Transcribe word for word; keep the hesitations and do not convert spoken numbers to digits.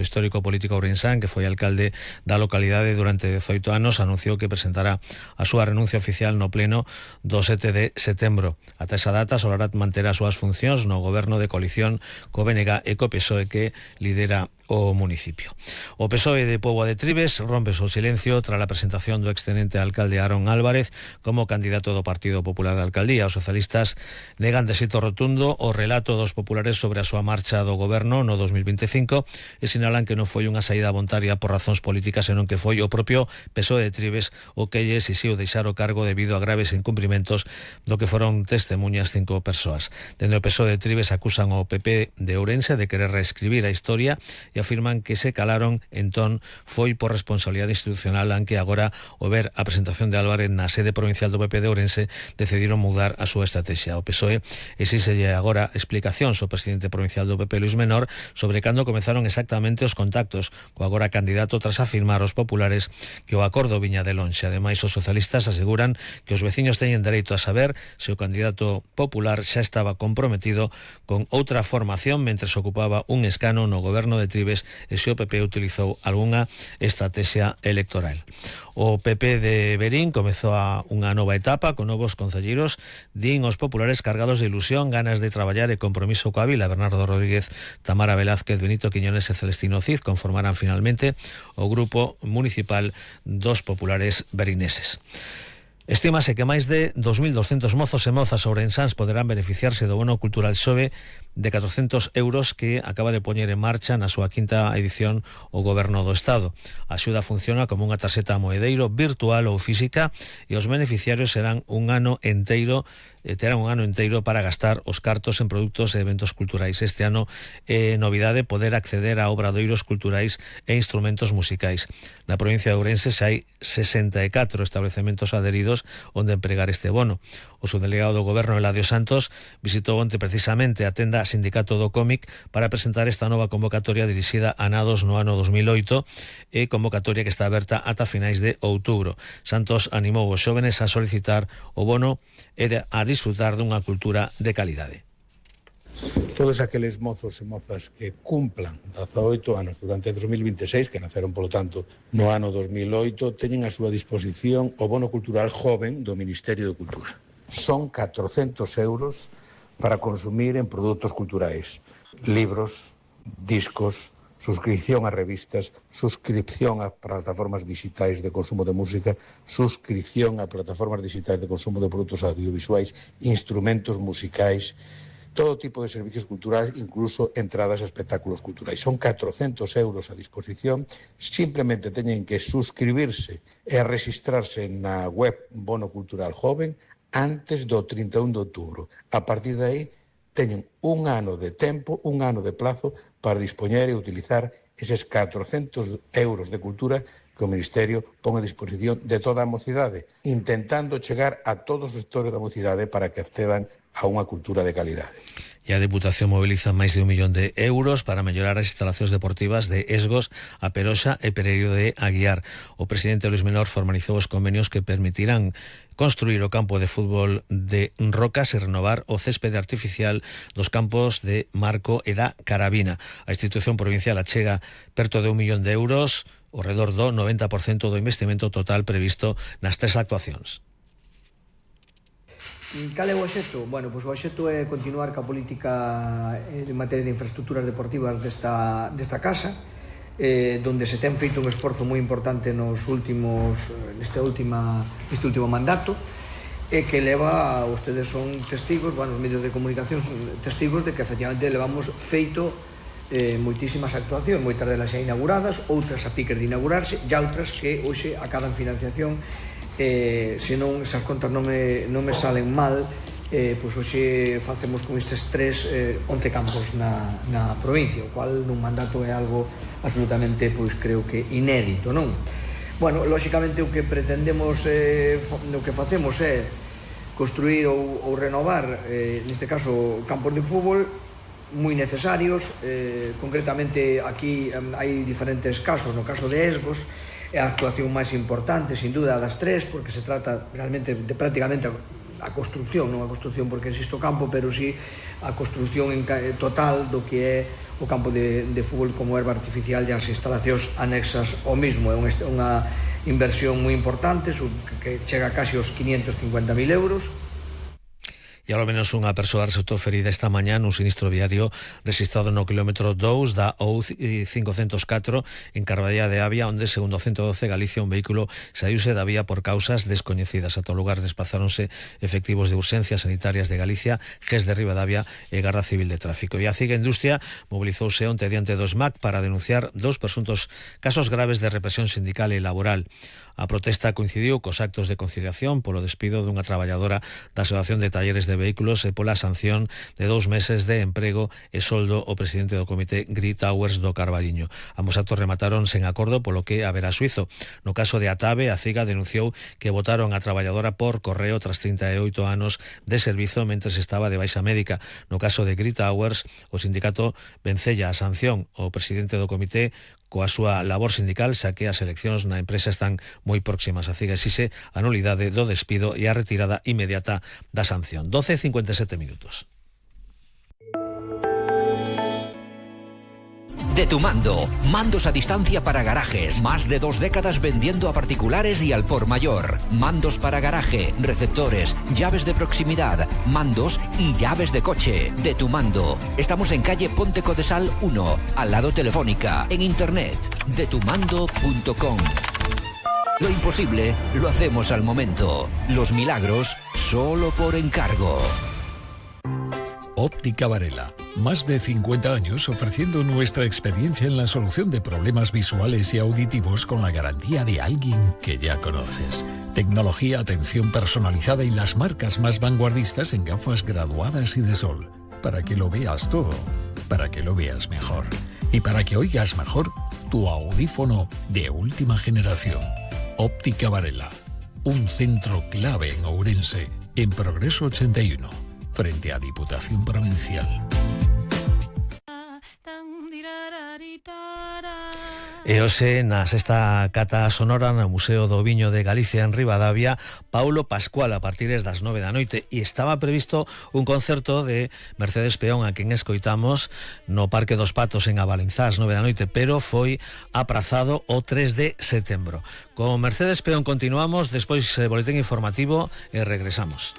histórico político ourensán, que foi alcalde da localidade durante dezoito anos, anunciou que presentará a súa renuncia oficial no pleno do sete de setembro. Ata esa data, Solarat manterá as súas funcións no goberno de coalición co B N G e co P S O E que lidera o municipio. O P S O E de Póvoa de Trives rompe o silencio tras a presentación do extenente alcalde Aaron Álvarez como candidato do Partido Popular á alcaldía. Os socialistas negan de xeito rotundo o relato dos populares sobre a súa marcha do goberno no dos mil veinticinco e sinalan que non foi unha saída voluntaria por razóns políticas, senón que foi o propio P S O E de Trives o que lle exixiu deixar o cargo debido a graves incumprimentos do que foron testemunhas cinco persoas. Dende o P S O E de Trives acusan o P P de Ourense de querer reescribir a historia e afirman que se calaron, entón foi por responsabilidade institucional, aunque agora, ao ver a presentación de Álvarez na sede provincial do P P de Ourense, decidiron mudar a súa estrategia. O P S O E exíxelle agora explicacións ao presidente provincial do P P, Luís Menor, sobre cando comezaron exactamente os contactos co agora candidato tras afirmar aos populares que o acordo viña de lonxe. Ademais, os socialistas aseguran que os veciños teñen dereito a saber se o candidato popular xa estaba comprometido con outra formación mentre se ocupaba un escano no goberno de Trives e se o P P utilizou algunha estrategia electoral. O P P de Verín comezou a unha nova etapa con novos concelleiros, din os populares cargados de ilusión, ganas de traballar e compromiso coa vila. Bernardo Rodríguez, Tamara Velázquez, Benito Quiñones e Celestino Cid conformarán finalmente o grupo municipal dos populares verineses. Estímase que máis de dos mil doscentos mozos e mozas ourensáns poderán beneficiarse do bono cultural Xove de catrocentos euros que acaba de poñer en marcha na súa quinta edición o Goberno do Estado. A axuda funciona como unha tarxeta moedeiro virtual ou física e os beneficiarios serán un ano enteiro terán un ano enteiro para gastar os cartos en produtos e eventos culturais. Este ano é novidade poder acceder a obradoiros culturais e instrumentos musicais. Na provincia de Ourense xa hai sesenta e catro establecementos adheridos onde empregar este bono. O subdelegado do Goberno, Eladio Santos, visitou onte precisamente a tenda Sindicato do Cómic para presentar esta nova convocatoria dirixida a nados no ano dos mil oito e convocatoria que está aberta ata finais de outubro. Santos animou os xóvenes a solicitar o bono e a disfrutar dunha cultura de calidade. Todos aqueles mozos e mozas que cumplan dezaoito anos durante dos mil veintiséis, que naceron, polo tanto, no ano dos mil oito, teñen a súa disposición o bono cultural joven do Ministerio de Cultura. Son catrocentos euros para consumir en produtos culturais, libros, discos, suscripción a revistas, suscripción a plataformas digitais de consumo de música, suscripción a plataformas digitais de consumo de produtos audiovisuais, instrumentos musicais, todo tipo de servicios culturais, incluso entradas a espectáculos culturais. Son catrocentos euros a disposición, simplemente teñen que suscribirse e registrarse na web Bono Cultural Joven antes do trinta e un de outubro. A partir de aí, teñen un ano de tempo, un ano de plazo para dispoñer e utilizar eses catrocentos euros de cultura que o Ministerio pon a disposición de toda a mocidade, intentando chegar a todos os sectores da mocidade para que accedan a unha cultura de calidade. E a Deputación moviliza máis de un millón de euros para mellorar as instalacións deportivas de Esgos, A Peroxa e Pereiro de Aguiar. O presidente Luís Menor formalizou os convenios que permitirán construir o campo de fútbol de Rocas e renovar o céspede artificial dos campos de Marco e da Carabina. A institución provincial achega perto de un millón de euros, ao redor do noventa por cento do investimento total previsto nas tres actuacións. Cal é o obxecto? Bueno, pois o obxecto é continuar ca política en materia de infraestructuras deportivas desta, desta casa, eh, donde se ten feito un esforzo moi importante nos últimos, neste, última, neste último mandato, e que leva, ustedes son testigos, bueno, os medios de comunicación son testigos de que efectivamente levamos feito eh, moitísimas actuacións, moitas delas xa inauguradas, outras a piques de inaugurarse, e outras que hoxe acadan financiación. Eh, se non, esas contas non me, non me salen mal, eh, pois hoxe facemos con estes tres, eh, once campos na, na provincia, o cual nun mandato é algo absolutamente, pois creo que inédito, non? Bueno, lóxicamente o que pretendemos, eh, o que facemos é construir ou, ou renovar, eh, neste caso, campos de fútbol moi necesarios, eh, concretamente aquí eh, hai diferentes casos, no caso de Esgos, é a actuación máis importante, sin duda, das tres, porque se trata realmente de prácticamente a construcción, non a construcción porque existe o campo, pero sí a construcción en total do que é o campo de, de fútbol como erva artificial e as instalacións anexas ao mismo. É unha inversión moi importante que chega casi aos quinientos cincuenta mil euros. E ao menos unha persoa resultou ferida esta mañá nun sinistro viario registrado no quilómetro dous da O U cincocentos e catro en Carballá de Avia, onde, segundo o ciento doce Galicia, un vehículo saíuse da vía por causas descoñecidas. A todo lugar desplazáronse efectivos de urxencias sanitarias de Galicia, G E S de Ribadavia e Garda Civil de Tráfico. E a CIGA Industria mobilizouse onte diante do S M A C para denunciar dous presuntos casos graves de represión sindical e laboral. A protesta coincidiu cos actos de conciliación polo despido dunha traballadora da Asociación de Talleres de Vehículos e pola sanción de dous meses de emprego e soldo ao presidente do comité Gree Towers do Carballiño. Ambos actos remataron sen acordo, polo que haberá suizo. No caso de Atabe, a CIGA denunciou que botaron a traballadora por correo tras trinta e oito anos de servizo mentres estaba de baixa médica. No caso de Gree Towers, o sindicato vencella a sanción ao presidente do comité coa súa labor sindical, xa que as eleccións na empresa están moi próximas. A CIGA exixe a nulidade do despido e a retirada inmediata da sanción. doce e cincuenta e sete minutos. De Tu Mando, mandos a distancia para garajes, más de dos décadas vendiendo a particulares y al por mayor. Mandos para garaje, receptores, llaves de proximidad, mandos y llaves de coche. De Tu Mando. Estamos en calle Ponte Codesal uno, al lado Telefónica, en internet, de tu mando punto com. Lo imposible lo hacemos al momento. Los milagros solo por encargo. Óptica Varela. Más de cincuenta años ofreciendo nuestra experiencia en la solución de problemas visuales y auditivos con la garantía de alguien que ya conoces. Tecnología, atención personalizada y las marcas más vanguardistas en gafas graduadas y de sol. Para que lo veas todo, para que lo veas mejor. Y para que oigas mejor tu audífono de última generación. Óptica Varela. Un centro clave en Ourense, en Progreso ochenta y uno. Frente a Diputación Provincial. E hoxe na sexta cata sonora no Museo do Viño de Galicia en Ribadavia, Paulo Pascual a partir das nove da noite, e estaba previsto un concerto de Mercedes Peón a quen escoitamos no Parque dos Patos en Avalenzá ás nove da noite, pero foi aprazado o tres de setembro. Con Mercedes Peón continuamos, despois boletín informativo e regresamos.